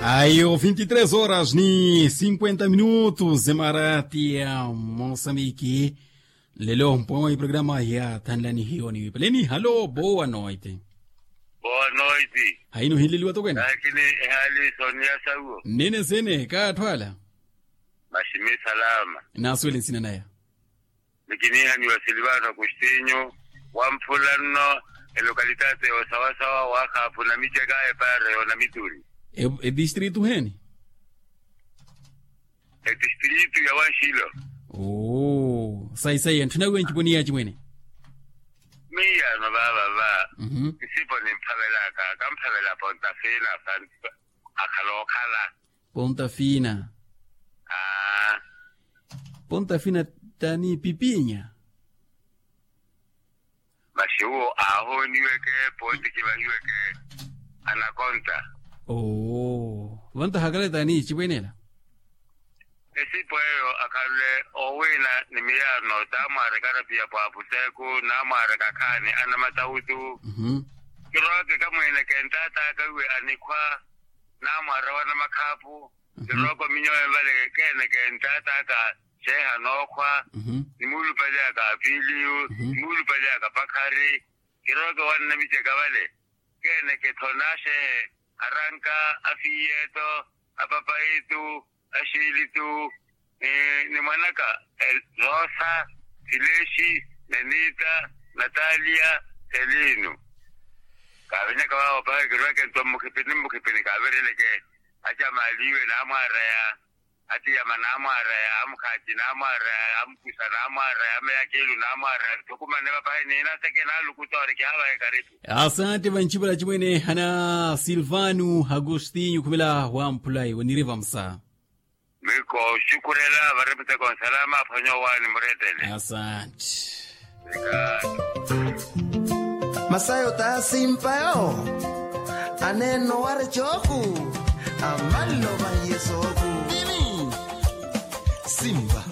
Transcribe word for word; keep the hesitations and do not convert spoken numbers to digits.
Ayo vinti tres horas ni cinquenta minutos emarati ya moçambique. Lelo mpwewa iprograma ya thanlani hiyo ni wipaleni halo boa noite. Boa noite. Haino hileliwa tokwene lakini ehali sonia sauo. Nene sene ka athwala. Mashimi salama. Nasuwele nsina naya. Nikiniha ni wasilivano agostinho wamphula nno. Elokalitati osawasawa wa khapu na micheka epare yo na mituni. Edistritu heni? Edistritu ya wanxilo. Oo sayi sayi anthu nawiwa nciponi ya acimwene. Miyano vavava. Nsipo nimphavelaka kamphavela pontafina. Akhala okhala. Ponta fina. Ponta fina tani pipinya. Masi uwo aahooniweke pooti kivahiweke. Anakonta. Oo vantaha akale tani cipwenela. Esipo eyo akhanle owiina ni miyaano taamwaareka arapiya pwaapuseku naamwaareka akhaani anamatawutu. Kirowa kikamwiineke ntaat'aka iwe anikhwa. Naamwaara wa namakhaapu. Kirowa kominyowe vale keeneke ntaat'aka xeeha nookhwa. Nimuulupaly'aka apiiliyu nimuulupaly'aka pakhari. Kirowa kewannamicheka vale keeneke tho naaxeehe aranka afiiyeto apapayitu axiilitu. Ni mwanaka rosa silexi nenita natalia selinu. Kaavenyaka vaawo pahi kirweke nto mmukhipini mmukhipini kaavireleke. Acamaaliwe naamwaaraya atiyama naamwaaraya amukhaci naamwaaraya amukusa naamwaaraya ameyakilu naamwaaraya nthukumane vapahi niinateke naalukuta ori kihaavahe karipu. Asante vanchipala chimwene hana silvano agostinho khumela wamphulayi waniriva msa. Miko xukurela vareputeko nsalama aphwanyowaani muretele. Asante. Masayo ta simpa yo. Aneeno ware cooku amalovahiye sooku. Simpa.